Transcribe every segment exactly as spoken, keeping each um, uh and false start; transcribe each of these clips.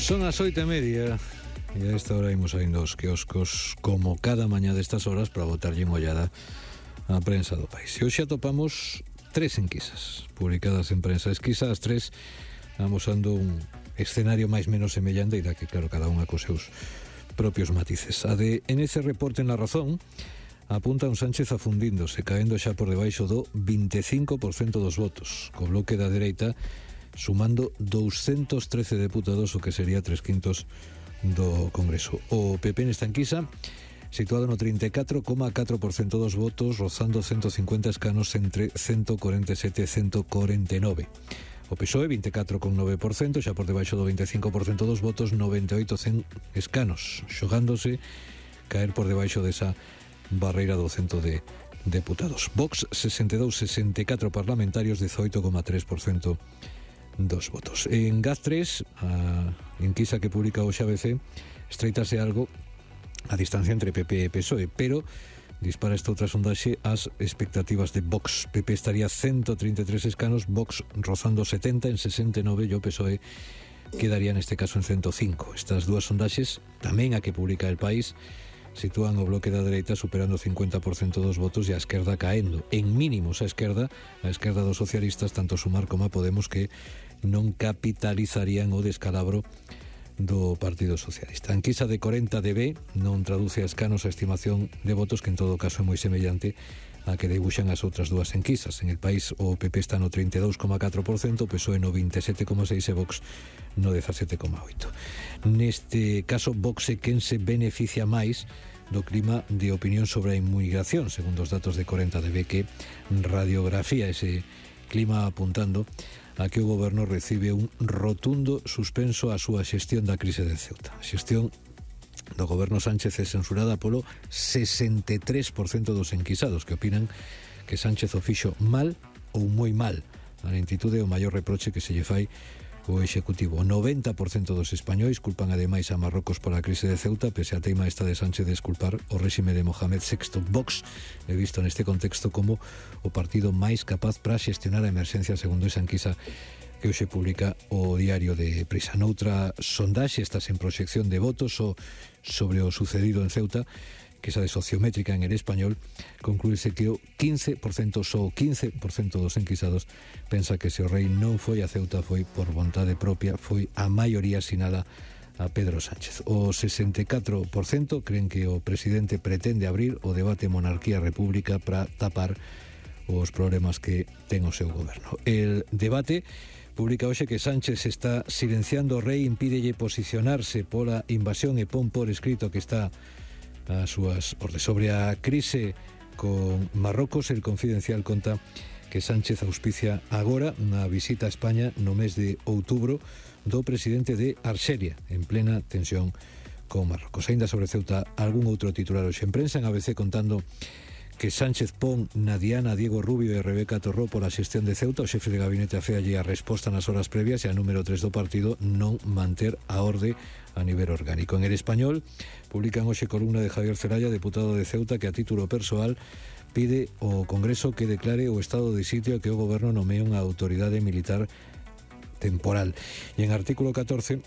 Son as oito e media e a esta hora imos saindo aos quioscos como cada mañá destas horas para botarlle unha ollada á prensa do país. E hoxe atopamos tres enquisas publicadas en prensa esquisa, as tres amosando un escenario máis menos semellante e da que claro cada unha cos seus propios matices. A de N C Reporte en La Razón apunta un Sánchez afundíndose, caendo xa por debaixo do veinticinco por cento dos votos, co bloque da dereita sumando doscientos trece deputados, o que sería tres quintos do Congreso. O P P nesta enquisa situado no trinta e catro coma catro por cento dos votos, rozando ciento cincuenta escanos entre ciento cuarenta e sete e ciento cuarenta e nove. O P S O E veinticuatro coma nove por cento, xa por debaixo do veinticinco por cento dos votos, noventa e oito escanos, xogándose caer por debaixo desa barreira do cento de deputados. Vox sesenta e dous coma sesenta e catro parlamentarios, dezoito coma tres por cento dos votos. En Gaz tres, a enquisa que publica hoxe A B C, estreitase algo a distancia entre P P e P S O E, pero dispara esta outra sondaxe as expectativas de Vox. P P estaría ciento treinta e tres escanos, Vox rozando setenta en sesenta e nove e o P S O E quedaría neste caso en ciento cinco. Estas dúas sondaxes, tamén a que publica El País, sitúan o bloque da dereita superando o cincuenta por cento dos votos e a esquerda caendo. En mínimos a esquerda, a esquerda dos socialistas, tanto Sumar como a Podemos, que non capitalizarían o descalabro do Partido Socialista. A enquisa de corenta D B non traduce a escanos a estimación de votos, que en todo caso é moi semellante a que debuxan as outras dúas enquisas. En El País o P P está no trinta e dous coma catro por cento, o P S O E no vinte e sete coma seis por cento e Vox no dezasete coma oito por cento. Neste caso, Vox é quen se beneficia máis do clima de opinión sobre a inmigración, segundo os datos de corenta D B, que radiografía ese clima apuntando a que o goberno recibe un rotundo suspenso á súa xestión da crise de Ceuta. A xestión do goberno Sánchez é censurada polo sesenta e tres por cento dos enquisados, que opinan que Sánchez o fixo mal ou moi mal. A lentitude é o maior reproche que se lle fai o Executivo. O noventa por cento dos españois culpan ademais a Marrocos pola crise de Ceuta, pese a teima esta de Sánchez de desculpar o réxime de Mohamed sexto. Vox é visto neste contexto como o partido máis capaz para xestionar a emerxencia, segundo esa enquisa que hoxe publica o Diario de Prisa. Noutra sondaxe, estas en proxección de votos o sobre o sucedido en Ceuta, que esa de sociométrica en El Español, concluíse que o quince por cento, só o quince por cento dos enquisados pensa que se o rei non foi a Ceuta foi por vontade propia, foi a maioría asinada a Pedro Sánchez. O sesenta e catro por cento creen que o presidente pretende abrir o debate monarquía-república para tapar os problemas que ten o seu goberno. El Debate publica hoxe que Sánchez está silenciando o rei, impídelle posicionarse pola invasión e pon por escrito que está as súas ordes. Sobre a crise con Marrocos, El Confidencial conta que Sánchez auspicia agora unha visita a España no mes de outubro do presidente de Arxelia, en plena tensión con Marrocos. Ainda sobre Ceuta, algún outro titular hoxe en prensa, en A B C contando que Sánchez pon na diana Diego Rubio e Rebeca Torró pola xestión de Ceuta. O xefe de gabinete aféalle a resposta nas horas previas e a número tres do partido non manter a orde a nivel orgánico. En El Español publican hoxe columna de Javier Celaya, deputado de Ceuta, que a título persoal pide ao Congreso que declare o estado de sitio e que o goberno nomee unha autoridade militar temporal. E en artículo catorce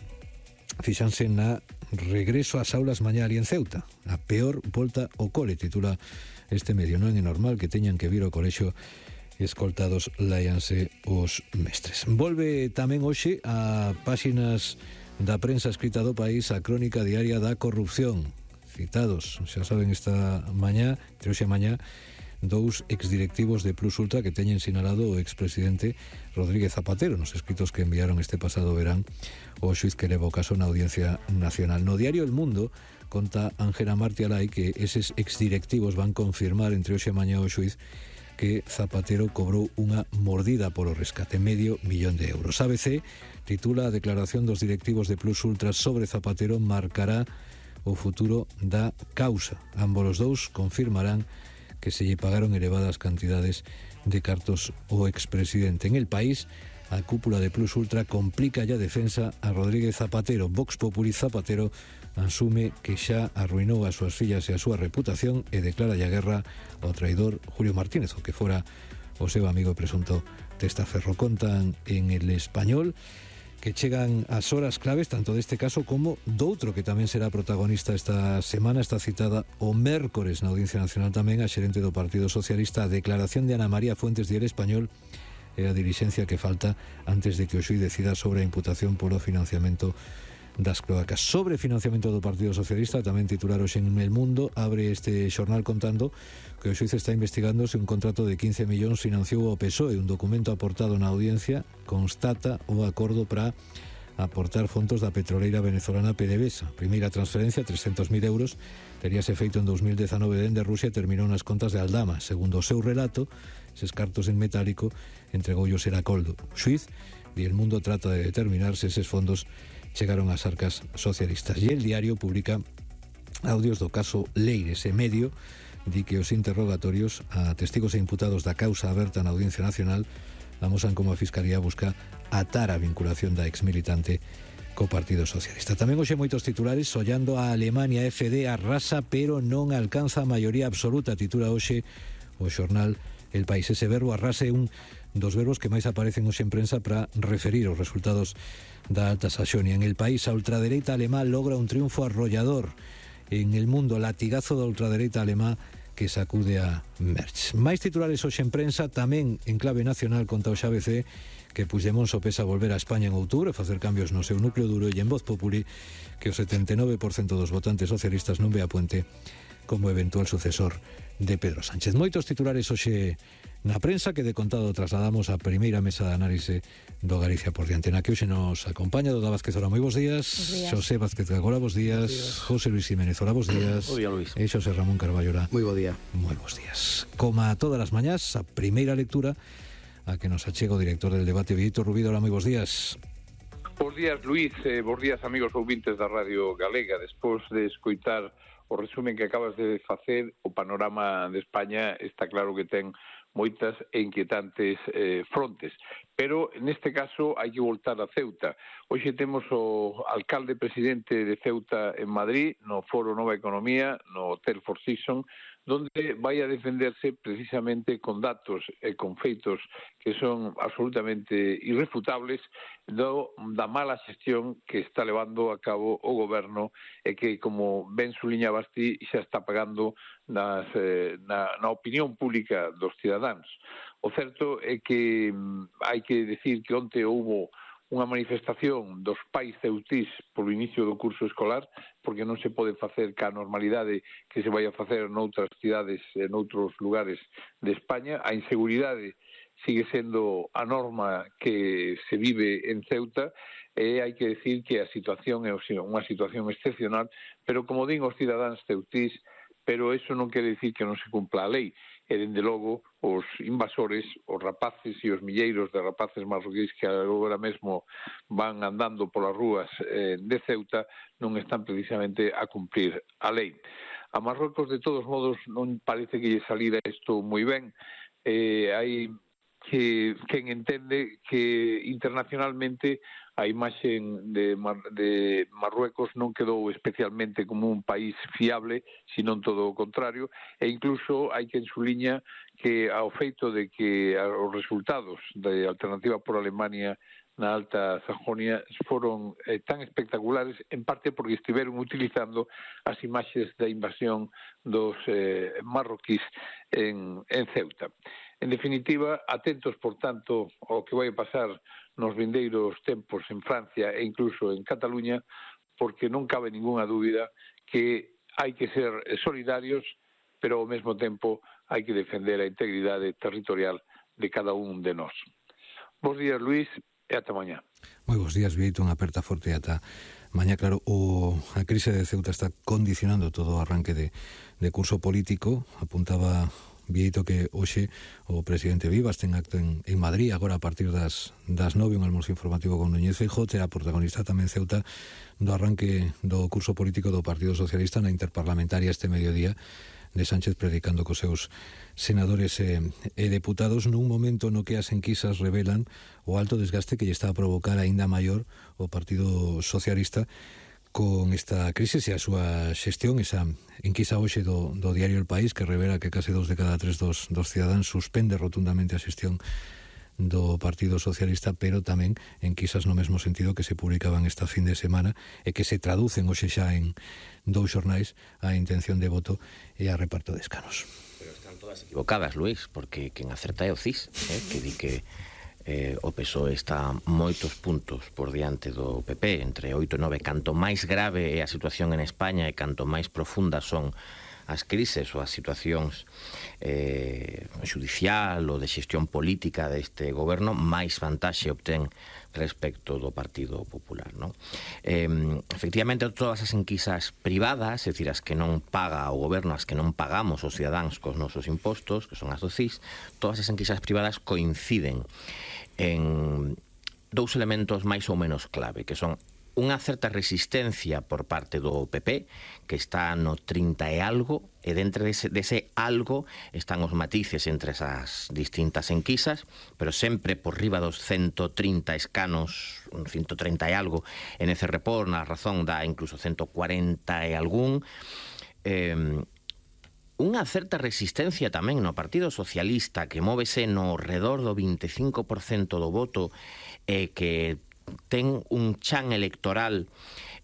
fixanse na regreso ás aulas mañá ali en Ceuta. A peor volta ao cole, titula este medio. Non é normal que teñan que vir ao colexio escoltados, láianse os mestres. Volve tamén hoxe a páxinas da prensa escrita do país a crónica diaria da corrupción. Citados, xa saben, esta mañá, entre hoxe e mañá, dous exdirectivos de Plus Ultra que teñen sinalado o expresidente Rodríguez Zapatero nos escritos que enviaron este pasado verán o xuiz que leva o caso na Audiencia Nacional. No diario El Mundo conta Ángela Martialay que eses exdirectivos van confirmar entre hoxe e mañá o xuiz que Zapatero cobrou unha mordida polo rescate, medio millón de euros. A B C titula a declaración dos directivos de Plus Ultra sobre Zapatero marcará o futuro da causa. Ambos os dous confirmarán que se lle pagaron elevadas cantidades de cartos ao expresidente. En El País, a cúpula de Plus Ultra complica a defensa a Rodríguez Zapatero. Vox Populi Zapatero asume que xa arruinou as súas fillas e a súa reputación e declara a guerra ao traidor Julio Martínez, o que fora o seu amigo presunto testaferro. Contan en El Español que chegan as horas claves tanto deste caso como doutro que tamén será protagonista esta semana. Está citada o mércores na Audiencia Nacional tamén a xerente do Partido Socialista. A declaración de Ana María Fuentes, Diario Español, e a dilixencia que falta antes de que o xuíz decida sobre a imputación polo financiamento das cloacas. Sobre financiamento do Partido Socialista, tamén titular hoxe en El Mundo, abre este xornal contando que o xuíz está investigando se un contrato de quince millóns financiou o P S O E. Un documento aportado na audiencia constata o acordo para aportar fondos da petroleira venezolana PDVSA. Primeira transferencia, trescentos mil euros, teríase feito en dos mil dezanove dende Rusia e terminou nas contas de Aldama. Segundo o seu relato, eses cartos en metálico entregoullos era Coldo. O xuíz e El Mundo trata de determinar se eses fondos chegaron ás arcas socialistas. E El Diario publica audios do caso Leires e Medio di que os interrogatorios a testigos e imputados da causa aberta na Audiencia Nacional amosan como a Fiscalía busca atar a vinculación da exmilitante co Partido Socialista. Tamén hoxe moitos titulares. Ollando a Alemania, F D arrasa pero non alcanza a maioría absoluta, titula hoxe o xornal El País. Ese verbo arrase é un dos verbos que máis aparecen hoxe en prensa para referir os resultados da Alta Saxonia. En El País, a ultradereita alemá logra un triunfo arrollador. En El Mundo, latigazo da ultradereita alemá que sacude a Merch. Máis titulares hoxe en prensa, tamén en clave nacional. Conta o X A B C que Puigdemont sopesa volver a España en outubro, facer cambios no seu núcleo duro, e en Voz Populi que o setenta e nove por cento dos votantes socialistas non ve a Puente como eventual sucesor de Pedro Sánchez. Moitos titulares hoxe na prensa que de contado trasladamos a primeira mesa de análise do Galicia por diante, na que hoxe nos acompaña Doda Vázquez. Ora, moi bons días. Xosé Vázquez Gagora, bons días. José Luis Jiménez, ora, bons días. Bo día, Luis. E Xosé Ramón Carballo, ora. Moi bo día. Moi bons días. Como a todas as mañás, a primeira lectura a que nos achega o director del debate, Víctor Rubido. Ora, moi bons días. Bos días, Luis. Eh, bos días, amigos ouvintes da Radio Galega. Despois de escoitar o resumen que acabas de facer, o panorama de España está claro que ten moitas e inquietantes eh, frontes. Pero, neste caso, hai que voltar a Ceuta. Hoxe temos o alcalde presidente de Ceuta en Madrid, no Foro Nova Economía, no Hotel Four Seasons, donde vai a defenderse precisamente con datos e con feitos que son absolutamente irrefutables do, da mala xestión que está levando a cabo o goberno e que, como ben suliñabas ti, xa está pagando nas, eh, na, na opinión pública dos cidadáns. O certo é que hai que decir que onte houbo unha manifestación dos pais ceutís polo inicio do curso escolar, porque non se pode facer ca normalidade que se vai a facer noutras cidades e noutros lugares de España. A inseguridade sigue sendo a norma que se vive en Ceuta e hai que decir que a situación é unha situación excepcional, pero como din os cidadáns ceutís, pero eso non quere decir que non se cumpla a lei. E, dende logo, os invasores, os rapaces e os milleiros de rapaces marroquíes que agora mesmo van andando polas rúas eh, de Ceuta non están precisamente a cumprir a lei. A Marrocos, de todos modos, non parece que lle salira isto moi ben. Eh, hai que quen entende que internacionalmente a imaxe de, Mar, de Marruecos non quedou especialmente como un país fiable, sino todo o contrario, e incluso hai quen suliña que ao feito de que os resultados de Alternativa por Alemania na Alta Sajonia foron eh, tan espectaculares, en parte porque estiveron utilizando as imaxes da invasión dos eh, marroquís en, en Ceuta. En definitiva, atentos, por tanto, ao que vai pasar nos vindeiros tempos en Francia e incluso en Cataluña, porque non cabe ninguna dúbida que hai que ser solidarios, pero ao mesmo tempo hai que defender a integridade territorial de cada un de nós. Bos días, Luis, e ata mañá. Moi bons días, Vieito, unha aperta forte ata mañá. Claro, o, a crise de Ceuta está condicionando todo o arranque de, de curso político. Apuntaba Vieito que hoxe o presidente Vivas ten acto en, en Madrid, agora a partir das, das nove, un almozo informativo con Núñez Feijóo. Terá protagonista tamén Ceuta do arranque do curso político do Partido Socialista na interparlamentaria este mediodía de Sánchez, predicando cos seus senadores e, e deputados nun momento no que as enquisas revelan o alto desgaste que lle está a provocar aínda maior o Partido Socialista con esta crisis e a súa xestión. Esa enquisa hoxe do, do diario El País que revela que case dos de cada tres dos, dos cidadáns suspende rotundamente a xestión do Partido Socialista, pero tamén enquisas no mesmo sentido que se publicaban esta fin de semana e que se traducen hoxe xa en dous xornais a intención de voto e a reparto de escanos. Pero están todas equivocadas, Luís, porque quen acerta é o C I S, eh, que di que eh, o P S O E está moitos puntos por diante do P P, entre oito e nove. Canto máis grave é a situación en España e canto máis profundas son as crises ou as situacións eh, judicial ou de xestión política deste goberno, máis vantaxe obtén respecto do Partido Popular, non? Eh, efectivamente, todas as enquisas privadas, é dicir, as que non paga o goberno, as que non pagamos os cidadáns cos nosos impostos, que son as do C I S, todas as enquisas privadas coinciden en dous elementos máis ou menos clave, que son unha certa resistencia por parte do P P, que está no trinta e algo, e dentro dese, dese algo están os matices entre esas distintas enquisas, pero sempre por riba dos ciento trinta escanos, ciento treinta e algo, en ese report, na razón da incluso ciento cuarenta e algún. Eh, unha certa resistencia tamén no Partido Socialista, que móvese no redor do vinte e cinco por cento do voto, e eh, que ten un chan electoral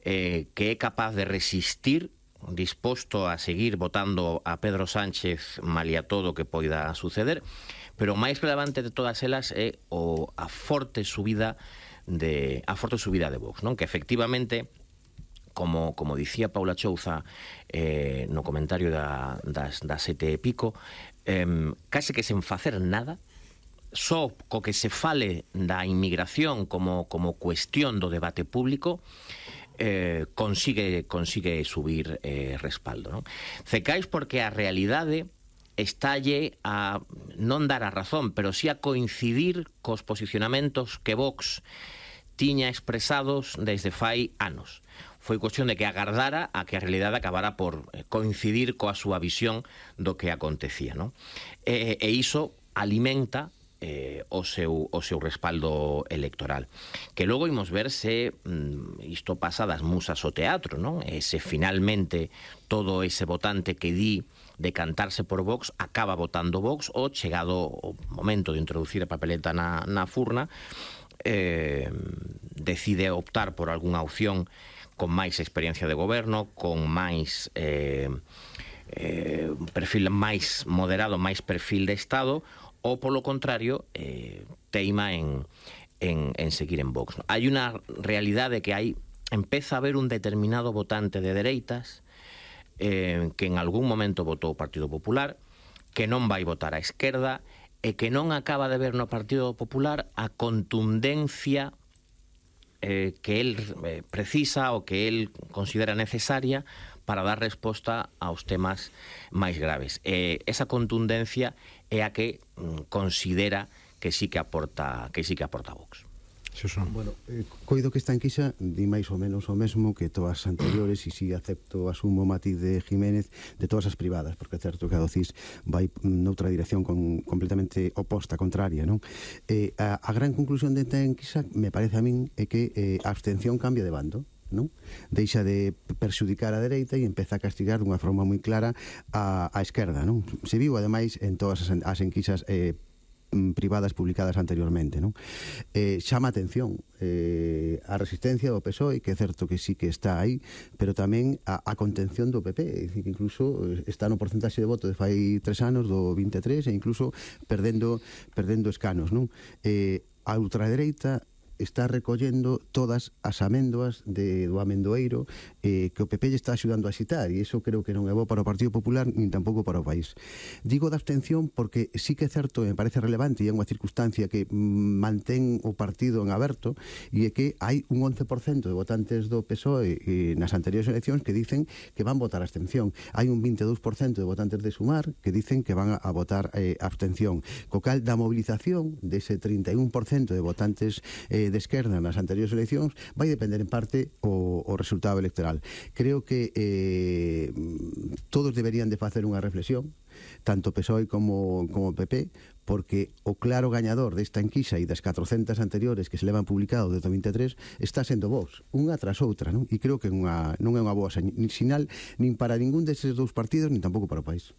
eh, que é capaz de resistir, disposto a seguir votando a Pedro Sánchez malia todo o que poida suceder, pero o máis relevante de todas elas é o, a forte subida de a forte subida de Vox, non? Que efectivamente, como, como dicía Paula Chouza eh, no comentario da, das, das sete e pico, eh, case que sen facer nada, só co que se fale da inmigración como, como cuestión do debate público, eh, consigue, consigue subir eh, respaldo, non? Cecais porque a realidade estalle a non dar a razón, pero sí a coincidir cos posicionamentos que Vox tiña expresados desde fai anos. Foi cuestión de que agardara a que a realidade acabara por coincidir coa súa visión do que acontecía, non? E, e iso alimenta Eh, o, seu, o seu respaldo electoral, que logo imos ver se mm, isto pasa das musas ao teatro, non? E se finalmente todo ese votante que di decantarse por Vox acaba votando Vox, ou chegado o momento de introducir a papeleta na, na furna, eh, decide optar por algunha opción con máis experiencia de goberno, con máis eh, eh, perfil máis moderado, máis perfil de Estado, ou polo contrario eh, teima en, en, en seguir en Vox. Hai unha realidade que hai, empeza a haber un determinado votante de dereitas eh, que en algún momento votou o Partido Popular, que non vai votar á esquerda e que non acaba de ver no Partido Popular a contundencia eh, que el eh, precisa ou que el considera necesaria para dar resposta aos temas máis graves. Eh, esa contundencia é a que mm, considera que sí que aporta que sí que aporta Vox. Bueno, eh, coido que esta enquisa di máis ou menos o mesmo que todas as anteriores, e si acepto, asumo o matiz de Jiménez, de todas as privadas, porque é certo que a do C I S vai noutra dirección con, completamente oposta, contraria, non? Eh, a, a gran conclusión desta enquisa, me parece a min, é que eh, a abstención cambia de bando, non? Deixa de perxudicar a dereita e empeza a castigar dunha forma moi clara a, a esquerda, non? Se viu, ademais, en todas as, as enquisas eh, privadas publicadas anteriormente, non? Eh, chama atención eh, a resistencia do P S O E, que é certo que sí que está aí, pero tamén a, a contención do P P, é dicir, que incluso está no porcentaxe de voto de fai tres anos do vinte e tres, e incluso perdendo perdendo escanos, non? Eh, a ultradereita está recollendo todas as améndoas de, do amendoeiro eh, que o P P lle está axudando a xitar, e iso creo que non é bo para o Partido Popular nin tampouco para o país. Digo da abstención porque sí que é certo, me parece relevante, e é unha circunstancia que mantén o partido en aberto, e é que hai un once por cento de votantes do P S O E eh, nas anteriores eleccións que dicen que van votar a abstención. Hai un vinte e dous por cento de votantes de Sumar que dicen que van a votar eh, abstención. Co cal, da movilización dese trinta e un por cento de votantes eh, de esquerda nas anteriores eleccións vai depender en parte o, o resultado electoral. Creo que eh, todos deberían de facer unha reflexión, tanto P S O E como, como P P, porque o claro gañador desta enquisa e das catrocentas anteriores que se levan publicado desde o vinte e tres está sendo Vox, unha tras outra, non? E creo que unha, non é unha boa sinal nin para ningún deses dous partidos, nin tampouco para o país.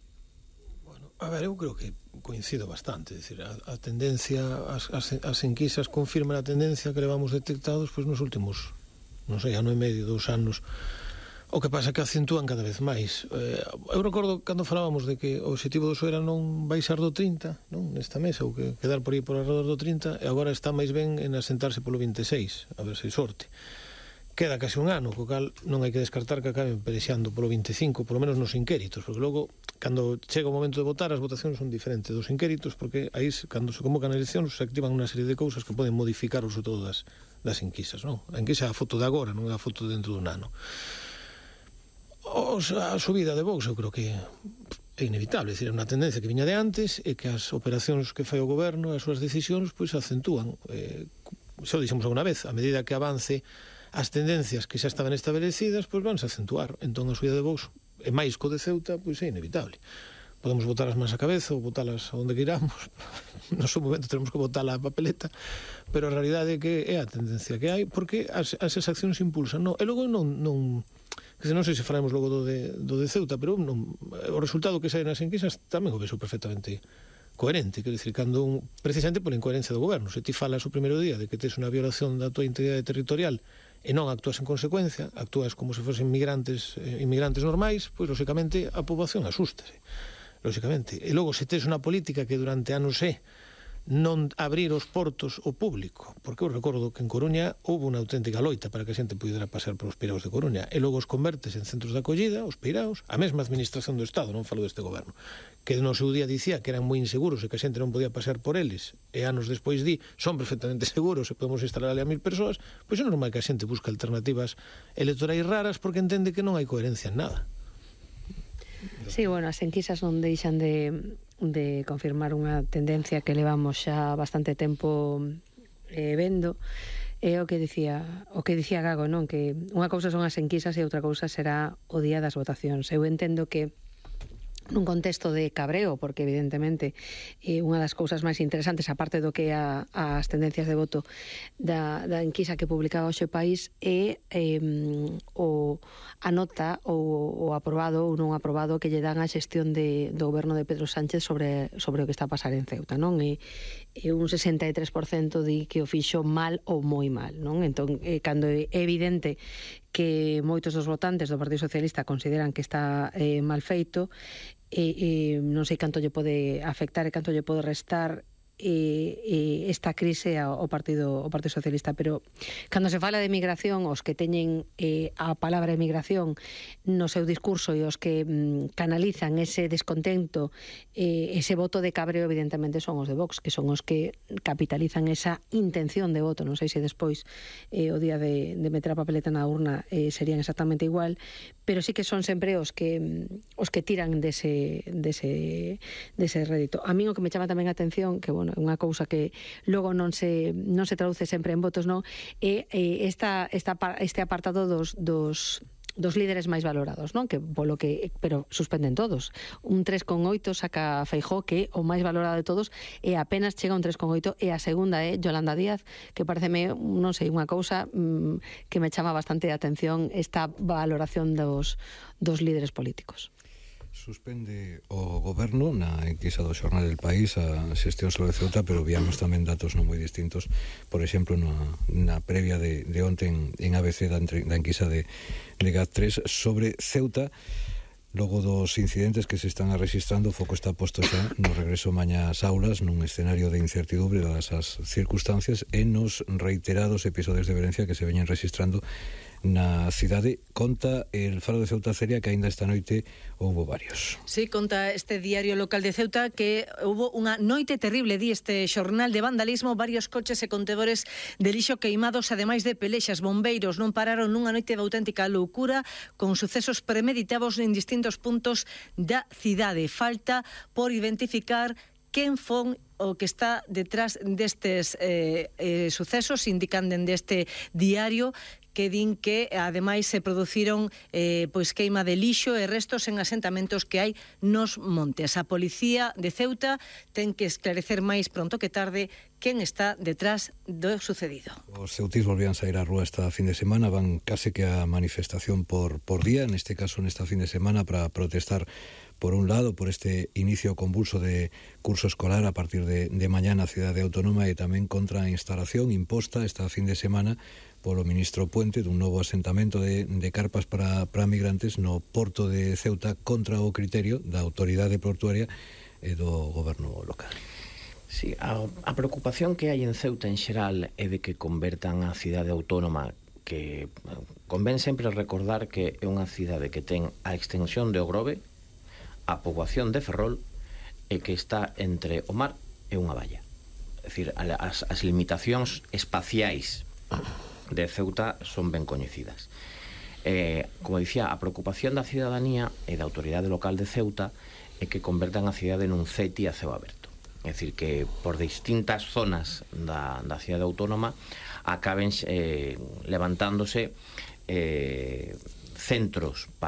A ver, eu creo que coincido bastante, é dicir, a, a tendencia, as, as, as enquisas confirman a tendencia que levamos detectados pois, nos últimos, non sei, ano e medio, dous anos. O que pasa é que acentúan cada vez máis. Eh, eu recordo cando falábamos de que o objetivo do P S O E era non baixar do trinta, non, nesta mesa, ou que quedar por aí por alrededor do trinta, e agora está máis ben en asentarse polo vinte e seis, a ver se hai sorte. Queda case un ano, co cal non hai que descartar que acaben pelexando polo vinte e cinco, polo menos nos inquéritos, porque logo, cando chega o momento de votar, as votacións son diferentes dos inquéritos, porque aí, cando se convocan eleccións, se activan unha serie de cousas que poden modificar o todo das, das enquisas, non? A enquisa é a foto de agora, non é a foto dentro dun ano. O, a subida de Vox, eu creo que é inevitable, é dicir, é unha tendencia que viña de antes e que as operacións que fai o goberno, as súas decisións, pois acentúan. Eh, xa o dixemos alguna vez, a medida que avance as tendencias que xa estaban establecidas, pois vanse a acentuar. Entón a subida de Vox, e máis co de Ceuta, pois é inevitable. Podemos botar as mans a cabeza ou botalas onde queiramos, no seu momento tenemos que botar a papeleta, pero a realidade é que é a tendencia que hai, porque as, as accións impulsan. No, e logo non, non, que non sei se falaremos logo do de, do de Ceuta, pero non, o resultado que sai nas enquisas tamén o vexo perfectamente coherente, quero dicir, cando un, precisamente por incoherencia do goberno, se ti falas o primeiro día de que tes unha violación da tua integridade territorial e non actúas en consecuencia, actúas como se fosen migrantes, eh, inmigrantes normais, pois, lóxicamente, a poboación asústase, lóxicamente. E logo, se tes unha política que durante anos é non abrir os portos ao público, porque eu recordo que en Coruña houve unha auténtica loita para que a xente pudera pasar polos peiraos de Coruña, e logo os convertes en centros de acollida, os peiraos, a mesma administración do Estado, non falo deste goberno, que no seu día dicía que eran moi inseguros e que a xente non podía pasar por eles, e anos despois di, son perfectamente seguros e podemos instalar ali a mil persoas, pois é normal que a xente busque alternativas electorais raras porque entende que non hai coherencia en nada. Sí, bueno, as enquisas non deixan de de confirmar unha tendencia que levamos xa bastante tempo eh, vendo. É o que dicía o que dicía Gago, non? Que unha cousa son as enquisas e outra cousa será o día das votacións. Eu entendo que nun contexto de cabreo, porque evidentemente eh, unha das cousas máis interesantes, aparte do que a, as tendencias de voto da, da enquisa que publicaba hoxe o País, é eh, o, a nota ou o aprobado ou non aprobado que lle dan a xestión de, do goberno de Pedro Sánchez sobre, sobre o que está a pasar en Ceuta, non? E, e un sesenta e tres por cento di que o fixo mal ou moi mal, non? Entón, eh, cando é evidente que moitos dos votantes do Partido Socialista consideran que está eh, mal feito, e, e non sei canto lle pode afectar e canto lle pode restar e, e esta crise ao Partido ao Partido Socialista, pero cando se fala de migración, os que teñen eh, a palabra emigración no seu discurso e os que mm, canalizan ese descontento, eh, ese voto de cabreo, evidentemente son os de Vox, que son os que capitalizan esa intención de voto. Non sei se despois eh, o día de, de meter a papeleta na urna eh, serían exactamente igual, pero sí que son sempre os que os que tiran dese, dese, dese rédito. A mí o que me chama tamén a atención, que bueno, unha cousa que logo non se non se traduce sempre en votos, non, é esta, esta, este apartado dos, dos dos líderes máis valorados, non? Que polo que, pero suspenden todos. Un tres coma oito saca Feijóo, que o máis valorado de todos, e apenas chega un tres coma oito, e a segunda é Yolanda Díaz, que pareceme, non sei, unha cousa mmm, que me chama bastante a atención esta valoración dos, dos líderes políticos. Suspende o goberno na enquisa do Xornal del País a xestión sobre Ceuta, pero viamos tamén datos non moi distintos. Por exemplo, na, na previa de, de onte en, en A B C da, da enquisa de, de GAT tres sobre Ceuta, logo dos incidentes que se están registrando, o foco está posto xa no regreso mañá ás aulas, nun escenario de incertidumbre dadas as circunstancias, e nos reiterados episodios de violencia que se veñen registrando na cidade. Conta el Faro de Ceuta, Celia, que aínda esta noite houbo varios. Sí, conta este diario local de Ceuta que houbo unha noite terrible, di este xornal, de vandalismo, varios coches e contedores de lixo queimados, ademais de pelexas. Bombeiros non pararon nunha noite de auténtica loucura, con sucesos premeditados en distintos puntos da cidade. Falta por identificar quen fon o que está detrás destes eh, eh, sucesos, indican dende este diario, que din que ademais se produciron eh, pois queima de lixo e restos en asentamentos que hai nos montes. A policía de Ceuta ten que esclarecer máis pronto que tarde quen está detrás do sucedido. Os ceutís volvían sair á rúa esta fin de semana, van case que a manifestación por, por día, neste caso nesta fin de semana, para protestar por un lado por este inicio convulso de curso escolar a partir de, de mañá na cidade autónoma e tamén contra a instalación imposta esta fin de semana polo ministro Puente dun novo asentamento de, de carpas para, para migrantes no porto de Ceuta contra o criterio da autoridade portuaria e do goberno local. Sí, a, a preocupación que hai en Ceuta en xeral é de que convertan a cidade autónoma, que convén sempre recordar que é unha cidade que ten a extensión de Ogrove, a poboación de Ferrol, e que está entre o mar e unha valla. É dicir, as, as limitacións espaciais de Ceuta son ben coñecidas. Eh, como dicía, a preocupación da cidadanía e da autoridade local de Ceuta é que convertan a cidade nun ceti a ceo aberto. É dicir, que por distintas zonas da, da cidade autónoma acaben eh, levantándose eh, centros para